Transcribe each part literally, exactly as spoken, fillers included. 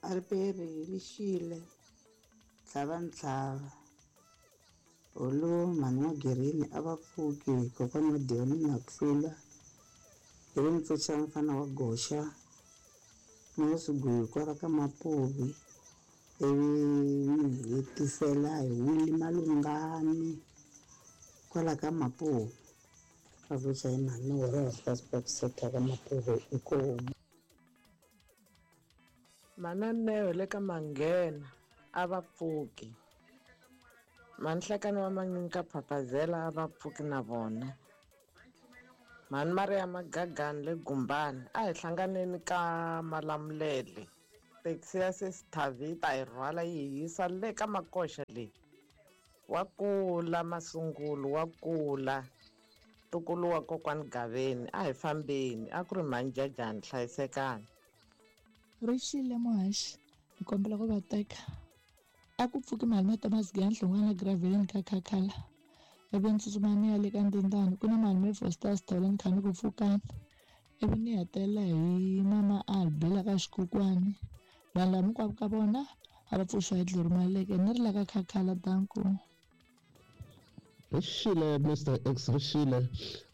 A ri peri ri xile tlhava ntlhava holo mhani wa Girini a va pfuki kokwana wa Dioni na hlula ivi ni pfuxa mfana wa Goxa Mosugwi kwala ka Mapuvi ivi ni hetisela hi Willy Malungani kwala ka Mapuvi va pfuxa hi mhani wa Fastback ka Mapuvi inkomu. Mananeo le ka Manghena a va pfuki. Manhlekani wa Manyinka Phaphazela a va pfuki na vona. Mhani Maria Magagani le Gumbani a hi hlanganeni ka Malamulele. Taxi ya Sesithavita yi rhwala yi hi yisa le ka Makoxa leyi. Wa kula Masungulo wa kula. Ntukulu wa kokwani Gaveni a hi fambeni a ku ri mhani Jajani hlayisekani. Ri xile muhaxi ni kombela ku va teka a ku pfuki mali ma Thomas Giyani Graveleni ka Khakhala ivi ni tsutsuma ni ya le ka Ndindani ku na mali Foster Sithole ni kha ni ku pfukani ivi ni hetelela hi mama Albi la ka Xikukwani vanhu lava hinkwavo ka vona a va pfuxiwa hi Dluru Maleke ni ri la ka Khakhala danko. Ri xile Mister X ri xile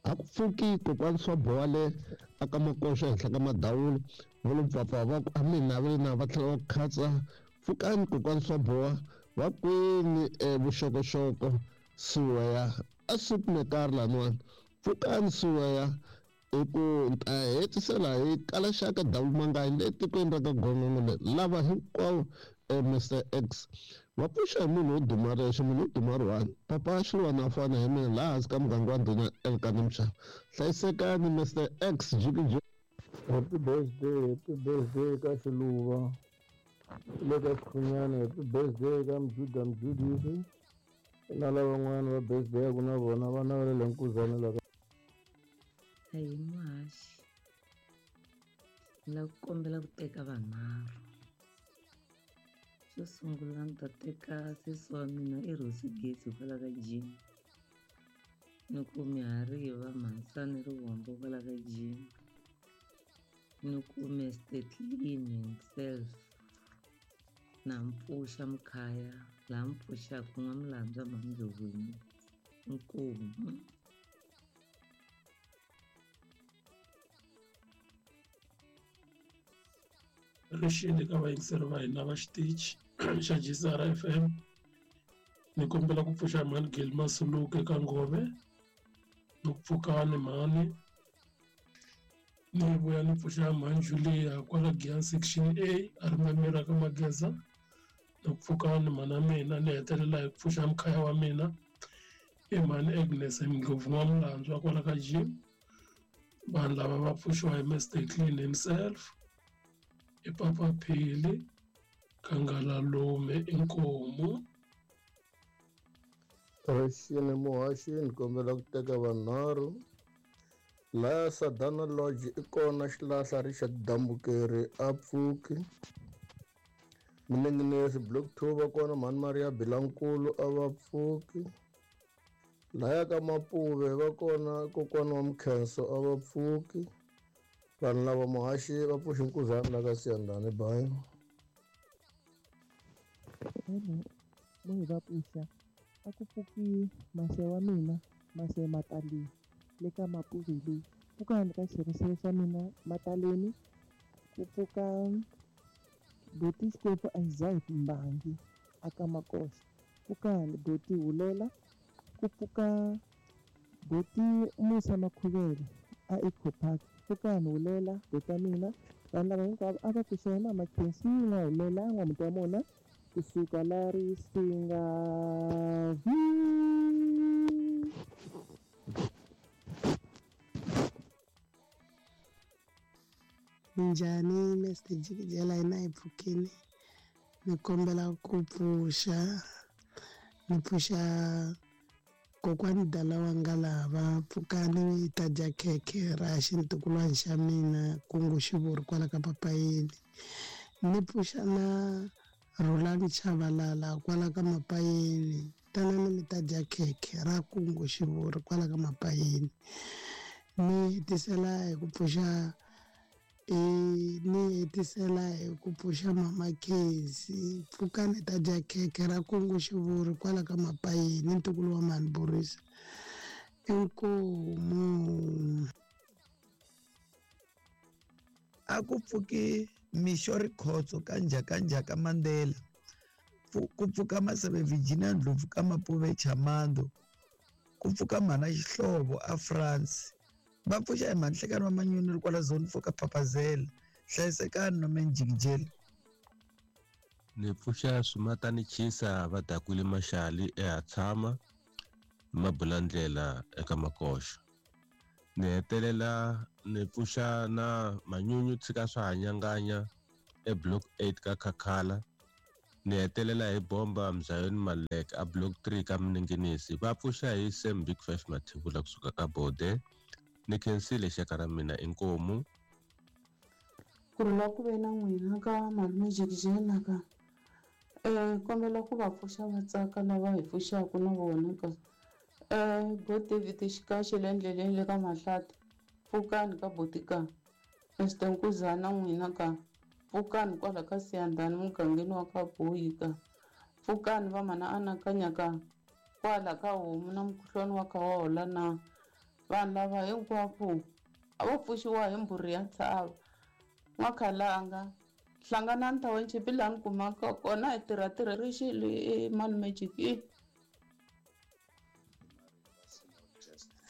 a ku pfuki kokwani swa boha le aka Makoxa henhla ka Madawula va lo pfapfa va ku a mina va na va tlhela va khatsa pfukani kokwani swa boha va kwini vuxokoxoko suweya a sukumekari laniwani pfukani suweya hi ku ta hetisela hi kala xaka Davumangayi le tikweni ra ka Gongongo le lava hinkwavo Mister X va pfuxa hi munhu wo duma rexe munhu wo duma ri one papa Xiluwana a fana hi mina laha hansi ka muganga wa ndhuna Elkana Mxava hlayisekani Mister X jikijiki. Happy birthday, happy birthday ka Xiluva le ka Xikhunyani, happy birthday ka Mjuda Mjudisi na lavan'wana va birthday ku na vona vana va le Nkuzana la ka. Ahi muhaxi ni lava ku kombela ku teka vanharhu. Xo sungula ni ta teka sesi wa mina i Rosi Gezi kwala ka Jim ni ku Mihariva Mhansani Rivombo kwala ka Jim ni ku Mister Clean himself na mpfuxa Mkhaya laha mpfuxaka N'wamulandzwa Mhamdlovini inkomu. Ri xile ka vayingiseri va hina va xitichi xa G C R F M ni kombela ku pfuxa mhani Gil Masuluke ka Ngove ni ku pfukani mhani ni vuya ni pfuxa mhani Julia kwala Giyani section A a ri mamira ka Mageza ni ku pfukani mhana mina ni hetelela hi ku pfuxa mkhaya wa mina i mhani Agnes Ndlovu N'wamulandzwa kwala ka Jim. Vanhu lava va pfuxiwa hi Mister Clean himself i Papa Phili Kangalalume inkomu. Ri xile muhaxi ni kombela ku teka vanharhu laya Sadana Lodge i kona xilahla Richard Dambukeri a pfuki Minenginesi Block two va kona mhani Maria Bilankulu a va pfuki laya ka Mapuve va kona kokwana wa Mkhenso a va pfuki vanhu lava muhaxi va pfuxi Nkuzana la ka Siyandhani bayi. Mo hi va pfuxa a ku pfuki mase wa mina mase Mataleni le ka Mapuve leyi pfukani ka xirisiwe xa mina Mataleni ku pfuka Boti Xikwembu Isaac Mbangi aka Makoxa pfukani Boti Hulela ku pfuka Boti Musa Makhuvele a Eco Park pfukani Hulela bota mina vanhu lava hinkwavo a va pfuxa hi mama Khensi n'wa Hulela n'wamuti wa mona kusuka la Risinga V. Minjhani Mister Jikijela hina hi pfukini ni kombela ku pfuxa ni pfuxa kokwani Dala wa Ngalava pfukani hi ta dya khekhe ra xintukulwana xa mina kungu xivuri kwala ka Papayini ni pfuxa na Rhulani Chavalala kwala ka Mapayeni tanani mi ta dya khekhe ra kungu xivuri kwala ka Mapayeni ni hetisela hi ku pfuxa E ni hetisela hi ku pfuxa mama Khezi pfukani ta dya khekhe ra kungu xivuri kwala ka Mapayeni ntukulu wa mhani Borisa inkomu. A ku pfuki mixo Rikhotso ka Njhakanjhaka Mandela ku pfuka Maseve Virginia Ndlovu ka Mapuve Chamando ku pfuka mhana Xihlovo a France va pfuxa hi mhanhlekani wa Manyoni ri kwala zone four ka Papazela hlayisekani no menjikijeli. Ni pfuxa Swimatani Chisa va dakwile Maxali eHatshama Mabulandlela eka Makoxa. Ni hetelela ni pfuxa na Manyunyu tshika swa hanyanganya e block eight ka Khakhala. Ni hetelela hi bomba Mzayoni Malek a block three ka Mninginisi. Va pfuxa hi Sam Big Five Mathebula kusuka ka Bode. Ni khensile xaka ra mina inkomu. Ku rhula ku ve na n'wina ka malume Jikijela ka eh kombela ku va pfuxa va tsaka lava hi pfuxaka na vona ka eh bo David Xikaxe le ndleleni le ka Mahlati pfukani ka Botika Mister Nkuzana n'wina ka pfukani kwala ka Siyandhani mugangeni wa ka Boyi ka pfukani va mana anakanya ka kwala ka homu na mukhuhlwani wa ka wa hola na vanhu lava hinkwavo a vo pfuxiwa hi mbhuri ya ntshava N'wakhalanga hlanganani township laha ni kumaka kona hi tirha tirha rixile i malume Jiki.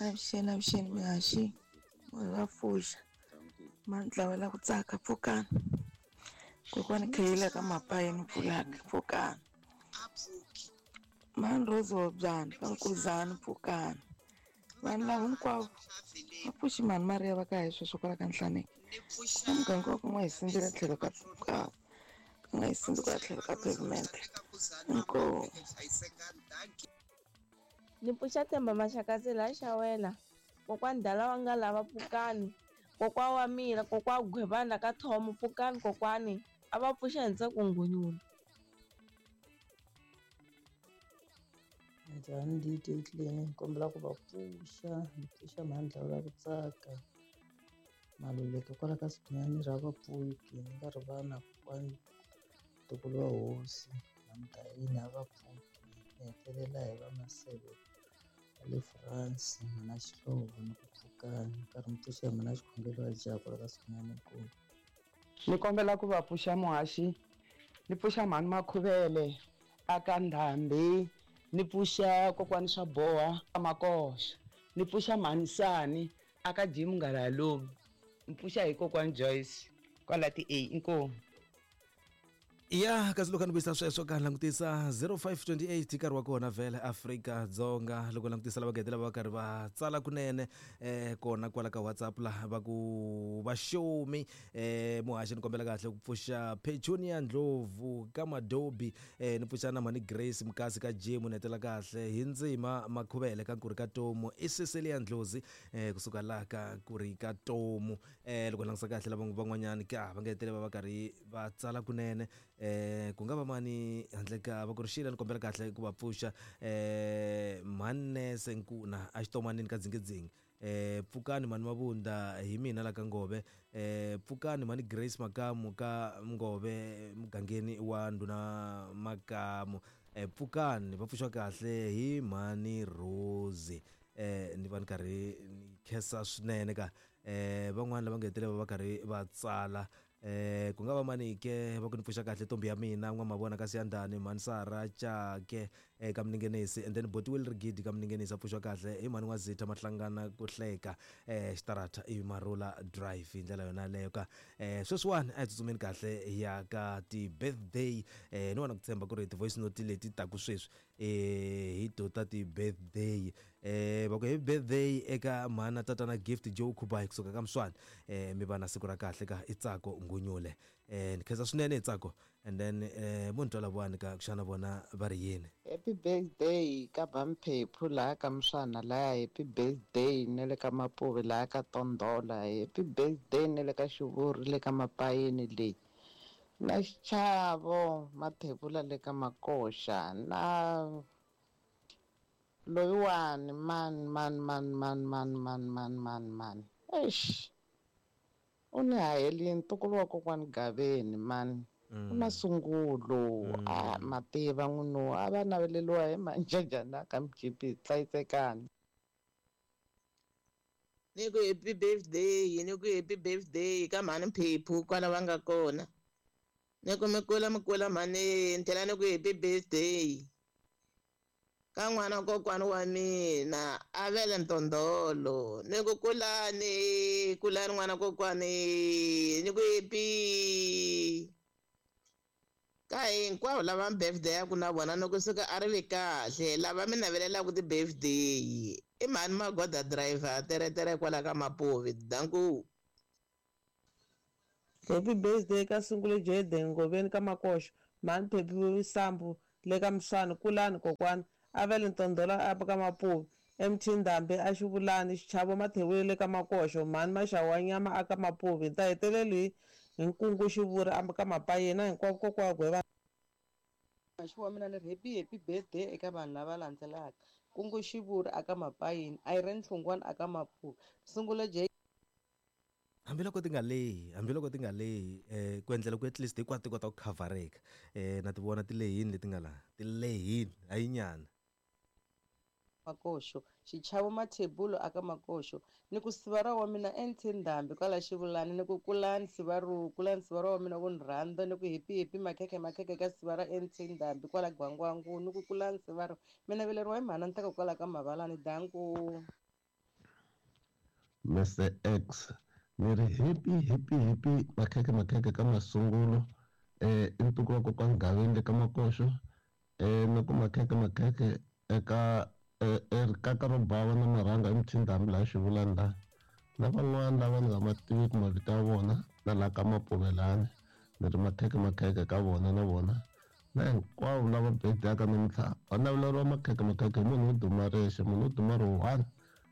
Avuxeni avuxeni mihaxi munhu va pfuxa mantlawa la ku tsaka pfukani kokwani kheyila ka Mapayeni pfulaka pfukani mhani Rose Hobyani ka Nkuzani pfukani vanhu lava hinkwavo va pfuxi mhani Maria va ka hi sweswo kwala ka Nhlaneki na muganga wa ku nga hi sindzela tlhelo ka ka nga hi sindzi kwala tlhelo ka pavement inkomu. Ni pfuxa Themba Maxakadzi laha Xawela kokwani dala wa nga lava pfukani kokwa wa mina kokwa Gwebana ka Thomo pfukani kokwani a va pfuxa hi ntsako Nghonyula. Njhani D J Clean kombela ku va pfuxa ni pfuxa mhandla la ku tsaka Maluleke kwala ka Sinyani ra vapfuki ni nga ri vana kokwani ntukulu wa hosi Mamdayini a va pfuki ni hetelela hi va Maseve va le France mhana Xihlovo ni ku pfukani nkarhi mi pfuxa hi mhana Xikhongelo wa jaha kwala ka Sinyani nkulu. Ni kombela ku va pfuxa muhaxi ni pfuxa mhani Makhuvele aka Ndhambi ni pfuxa kokwani swa boha Makoxa ni pfuxa mhani Sani aka Jim Ngalalomi ni pfuxa hi kokwani Joyce kwala ti A inkomu. Ya kasi loko ni vuyisa sweswo ka langutisa zero five twenty-eight nkarhi wa kona vhele Afrika Dzonga loko langutisa lava gede lava va karhi va tsala kunene eh kona kwala ka WhatsApp la va ku va show me eh muhaxi ni kombela kahle ku pfuxa Petunia Ndlovu ka Madobi eh ni pfuxa na mhani Grace Mukasi ka Jim ni hetela kahle hi Ndzima Makhuvele ka Nkuri ka Tomu i Cecilia Ndlozi eh kusuka la ka Nkuri ka Tomu eh loko langutisa kahle lava van'wanyani ka va nga hetele va va karhi va tsala kunene eh ku nga va mani handle ka va ku ri xila ni kombela kahle ku va pfuxa eh Mhanese Nkuna a xitomanini ka Dzingidzingi eh pfukani mhani Mabunda hi mina la ka Ngove eh pfukani mhani Grace Makamu ka Ngove mugangeni wa Ndhuna Makamu eh pfukani va pfuxa kahle hi mhani Rose eh ni va ni karhi ni khensa swinene ka eh van'wana lava nga hetelela va karhi va tsala eh ku nga va mani ke va ku ni pfuxa kahle ntombi ya mina n'wa mavona ka Siyandhani mhani Sara Chake eh ka Mningenisi and then Botiwel Rigidi ka Mningenisi a pfuxa kahle hi mhani wa Zitha Mahlangana ku hleka eh xitarata i Marula Drive hi ndlela yona leyo ka eh sweswiwani a hi tsutsumeni kahle ya ka ti-birthday eh ni vona ku tshemba ku ri ti-voice note leti taku sweswi eh hi to ta ti-birthday eh va ku happy birthday eka mhana tatana Gift Joe Khubai kusuka ka Mswani eh mi va na siku ra kahle ka Itsako Ngunyule eh ni khensa swinene Itsako and then eh vo ni twala vona ka xana vona va ri yini. Happy birthday ka Bamphephu laha ka Mswana laya, happy birthday na le ka Mapuve laha ka Tondola, happy birthday na le ka Xivuri le ka Mapayeni leyi na Xichavo Mathebula le ka Makoxa na loyiwani man man man man man man man man man eish U ni hahelini ntukulu wa kokwani Gaveni mani. U masungulo a mativa n'wino a va naveleliwa hi manjajana ka M G P hlayisekani. Ni ku happy birthday, ni ku happy birthday ka mhani Phephu kwala va nga kona. Ni ku mi kula mi kula mhani, ni tlhela ni ku happy birthday ka n'wana kokwani wa mina a vele Ntondolo. Ni ku kulani kulani n'wana kokwani, ni ku happy ka hinkwavo lava birthday ya ku na vona. Ni kusuka a ri vi kahle lava mi navelelaka ti-birthday i mhani Magoda driver teretere kwala ka Mapuvi. Danku. Happy birthday ka Sungule Jaden Ngoveni ka Makoxo, mhani Phephu Sambu le ka Mswani, kulani kokwani Avele Ntondolo apa ka Mapuvi, M T Ndhambi a Xivulani, Xichavo Mathewule le ka Makoxo, mhani Maxawu wa nyama aka Mapuvi. Ni ta heteleli hi Nkungu Xivuri a ka Mapayeni hinkwavo kokwa Gweva. Muhaxi wa mina ni ri happy happy birthday eka vanhu lava landzelaka: Kungu Xivuri aka Mapayeni, Irene Hlungwani aka Mapuvi, Sungula J. Hambiloko ti nga lehi, hambiloko ti nga lehi, eh ku endlela ku at least hinkwato ti kota ku khavhareka. eh na ti vona ti lehini leti nga laha, ti lehini hayi nyana. Makoxo, Xichavo Mathebulu aka Makoxo, ni ku sivara wa mina N T Ndhambi kwala Xivulani, ni ku kulani sivaru, kulani sivara wa mina ku ni rhandza, ni ku happy happy makhekhe makhekhe ka sivara N T Ndhambi kwala Gwangwangu, ni ku kulani sivaru mina veleriwa hi mhana Ntaka kwala ka Mavalani. Danku. Mister X, ni ri happy happy happy makhekhe makhekhe ka masungulo, eh i ntukulu wa kokwani Gaveni le ka Makoxo, eh na ku makhekhe makhekhe eka rikaka ro bava na marhanga emutshindhambi laha Xivulani laha, na van'wana lava ni nga ma tiviki mavito ya vona na laha ka Mapuvelani, ni ri makhekhe makhekhe ka vona na vona, na hinkwavo lava birthday-aka namuntlha va naveleriwa makhekhe makhekhe hi munhu wo duma rexe, munhu wo duma ri one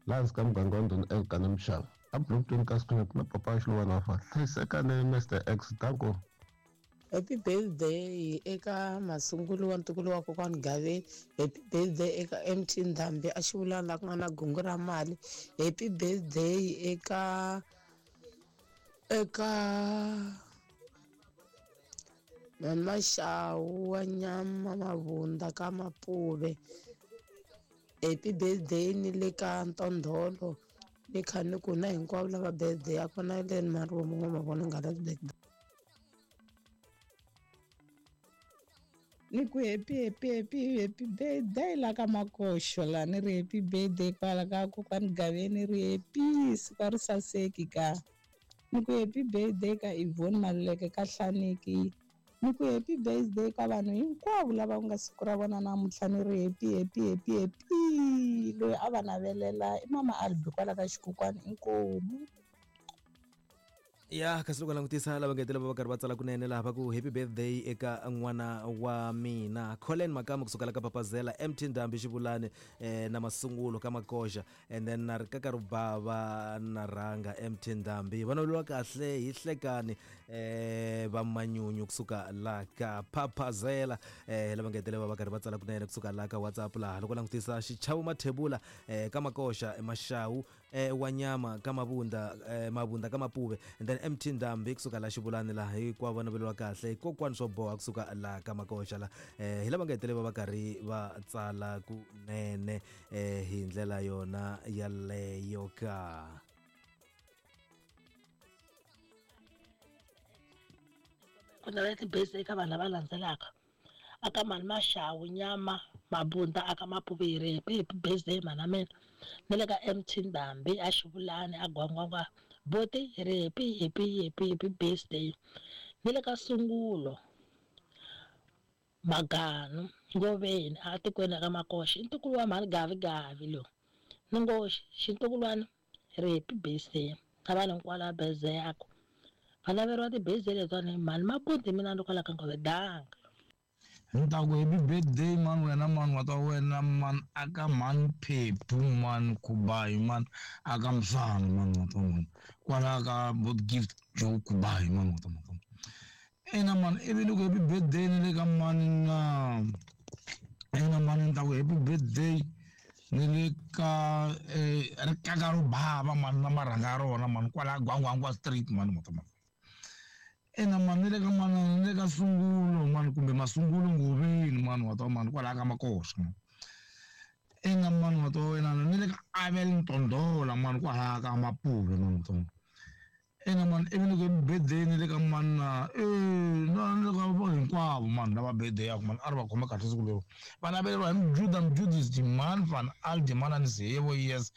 laha hansi ka muganga wa Ndhuna Elkana Mxava a Bloemfontein ka Sikhunyati na papa Xiluva na fa. Hlayisekani Mister X, danko. Happy birthday eka masungulo wa ntukulu wa kokwani Gaveni. Happy birthday eka M T Ndhambi a Xivulani laha ku nga na gungu ra mali. Happy birthday eka eka Mama Xawu wa nyama Mavunda ka Mapuve. Happy birthday ni le ka Ntondolo, ni kha ni ku na hinkwavo lava birthday ya kona leni Marumo ma vona nga la birthday. Ni ku happy happy happy happy birthday la ka Makoxo la, ni ri happy birthday kwala ka kokwani Gaveni, ri happy siku a ri saseki ka. Ni ku happy birthday ka Yvonne Maluleke ka Hlaniki. Ni ku happy birthday ka vanhu hinkwavo lava ku nga siku ra vona namuntlha, ni ri happy happy happy happy. Loyi a va navelela i mama Albi kwala ka Xikokwani. Inkomu. Ya, kasi loko langutisa lava ngetela va va karhi va tsala kunene laha, va ku happy birthday eka n'wana wa mina Colin Makamu kusuka la ka Papazela, M T Ndhambi Xivulani, eh, na Masungulo ka Makoxa, and then na rikaka rubava na rhanga M T Ndhambi va naveliwa kahle hi hlekani, eh, va Manyunyu kusuka la ka Papazela. eh, lava ngetela va va karhi va tsala kunene kusuka la ka WhatsApp laha, loko langutisa Xichavo Mathebula, eh, ka Makoxa, Maxawu, eh, wa nyama ka Mavunda, eh, Mavunda ka Mapuve, and then M T Ndhambi kusuka la Xivulani laha, hinkwavo va naveliwa kahle kokwani swo boha kusuka la ka Makoxa la. eh, hi lava nga hetelela va va karhi va tsala kunene, eh, hi ndlela yona yaleyo ka. Ku navela ti-birthday eka vanhu lava landzelaka: aka mhani Maxawu nyama Mabunda aka Mapuveri, happy happy birthday mhana mina, na le ka M T Ndhambi a Xivulani a Gwangwangwa boti, hi ri happy happy happy happy birthday, ni le ka Sungulo Maganu Ngoveni a tikweni ka Makoxa, i ntukulu wa mhani Gavi Gavi lowu, ni ngo xintukulwana hi ri happy birthday na vanhu hinkwavo lava birthday-aku va naveriwa ti-birthday letiwani. Mhani Maputi mina ni kwala ka Ngove danga. Ni ta ku happy birthday mani wena mani wa ta wena mani aka mhani Phephu mani Khubayi mani aka Msana mani wa ta mani kwala ka bot Gift Joe Khubayi mani wa ta mani ina mani, ivi ni ku happy birthday ni le ka mani na ina mani, ni ta ku happy birthday. Ni le ka eh rikaka ro bava mani na marhanga ya rona mani kwala Gwangwangwa Street mani mata mani. Ina mani ni le ka mani ni le ka Sungulo mani kumbe Masungulo Ngoveni mani wa ta mani kwala ka Makoxa mani. Ina mani wa ta wena ni le ka Abel Ntondola mani kwala ka Mapuve mani wa ta mani. Ina mani ivi ni ku birthday ni le ka mani na eh na ni le ka vo hinkwavo mani lava birthday yaku mani a ri va khome kahle siku lero. Va naveleriwa hi Mjuda Mjudisi mani van Aldeman ni Zevo yes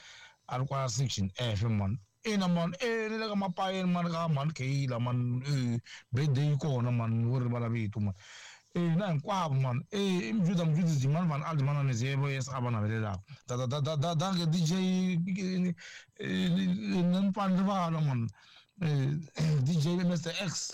a ri kwala section F mani. Ina mani eh ni le ka Mapayeni mani ka mani Kayila mani eh birthday yi kona mani wo rivala vito mani. Eh na hinkwavo mani eh i Mjuda Mjudisi mani van Aldeman ni Zevo yes a va navelelaka. Da da da da da danke D J ni pfani rivala mani. D J Mister X.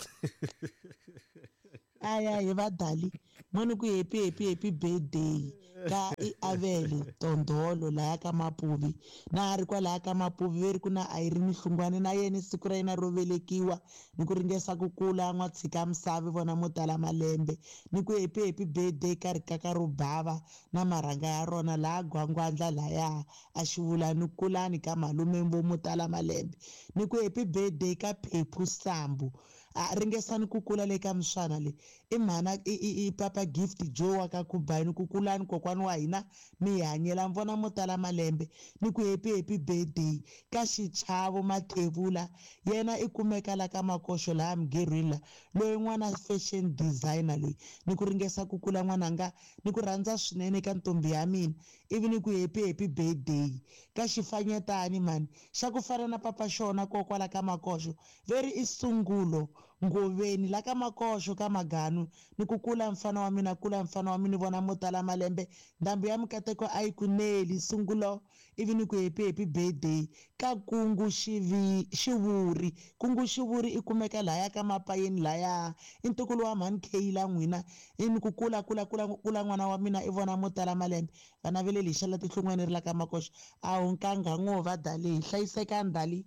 Aya hi va dali moni ku happy happy happy birthday ka i Avele Tondolo laya ka Mapuvi na a ri kwalaya ka Mapuvi ve ri ku na Irene Hlungwane na yena siku ra yena ro velekiwa ni ku ringesa ku kula n'wa tshika misava vona mo tala malembe ni ku happy happy birthday ka rikaka ro bava na marhanga ya rona laha Gwangwandla laya a xivula ni kulani ka malume vo mo tala malembe ni ku happy birthday ka Phephu Sambu a ringesani ku kula le ka miswana le i mhana i i papa Gift Joe wa ka Kubayini ku kulani kokwani wa hina mi hanyela vona mo tala malembe ni ku happy happy birthday ka Xichavo Mathevula yena i kumeka la ka Makoxo laha Mugirwini la loyi n'wana fashion designer loyi ni ku ringesa ku kula n'wananga ni ku rhandza swinene ka ntombi ya mina ivi ni ku happy happy birthday ka xifanyetani mani xa ku fana na papa xona kokwala ka Makoxo veri i Sungulo Ngoveni la ka Makoxo ka Maganu ni ku kula mfana wa mina kula mfana wa mina vona mo tala malembe ndhambi ya mikateko a yi ku neli Sungulo ivi ni ku happy happy birthday ka Kungu xivi Xivuri Kungu Xivuri i kumeka laya ka Mapayeni laya i ntukulu wa mhani Kayila n'wina i ni ku kula kula kula kula n'wana wa mina i vona mo tala malembe vana ve le lixa la tihlungweni ri la ka Makoxo a wu nkanga ngo va dali hi hlayisekani dali.